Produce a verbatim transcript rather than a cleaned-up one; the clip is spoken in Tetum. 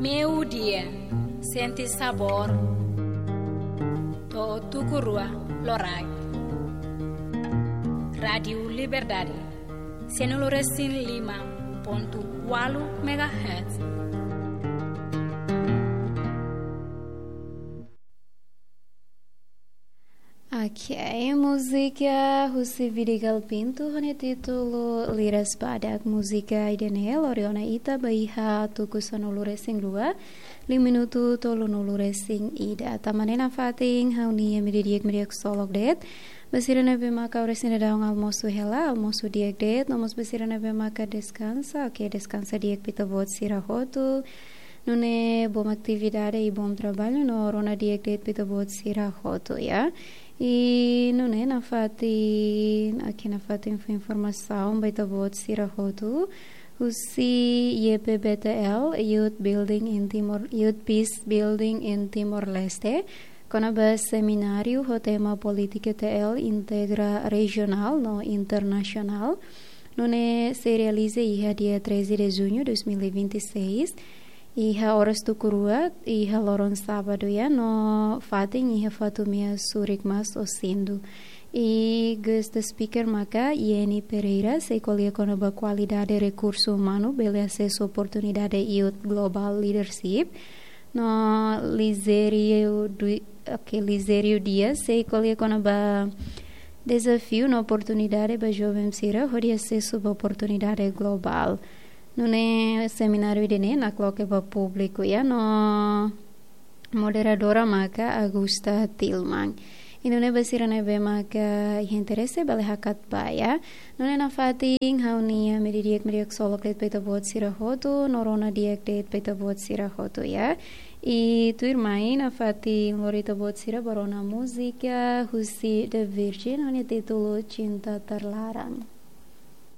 Meiudia, sente sabór. To'o tuku rua loraik. Rádiu Liberdade, sanulu-resin-lima pontu ualu megahertz. Ok, múzika husi Vidigal Pinto, ho nia títulu Liras Badak. Múzika ida-ne'e lori ona ita ba iha tuku sanulu-resin-rua, liu minutu tolunulu-resin-ida. Tanba ne'e nafatin ha'u-nia imi didi'ak mak di'ak ksolok de'it ba sira ne'ebé maka oras ne'e daudaun almosu hela, almosu di'ak de'it, no mós ba sira ne'ebé maka deskansa, ok, deskansa di'ak ba ita-boot sira hotu. Nune'e bom atividade i bom traballu no rona di'ak de'it ba ita-boot sira hotu, ya. I nune'e nafatin, ok, nafatin fó informasaun ba ita-boot sira hotu. Husi Y P B T L, Youth Building in Timor, Youth Peace Building in Timor-Leste, kona-ba semináriu ho tema Polítika T L Integra Rejionál no Internasionál. Nune'e sei realiza iha dia treze de junho dois mil e vinte e seis, iha oras tuku rua, iha loron sábadu, ya, no fatin iha Fatumea Surik Mas Osindu. I guest speaker maka Yeni Pereira, sei ko'alia kona-ba kualidade rekursu umanu bele asesu oportunidade Youth Global Leadership. No Lizerio Du-, ok, Lizerio Dias, sei ko'alia kona-ba dezafiu no oportunidade ba joven sira hodi asesu ba oportunidade globál. Nune'e semináriu ida-ne'e nakloke ba públiku, ya, no moderadora maka Augusta Tilman. I nune'e ba sira ne'ebé maka iha interese bele hakat ba, ya. Nune'e nafatin ha'u-nia imi didi'ak mak di'ak ksolok de'it ba ita-boot sira hotu, no rona di'ak de'it ba ita-boot sira hotu, ya. I tuirmai nafatin lori ita-boot sira ba rona múzika husi The Virgin, ho nia títulu Cinta Terlarang.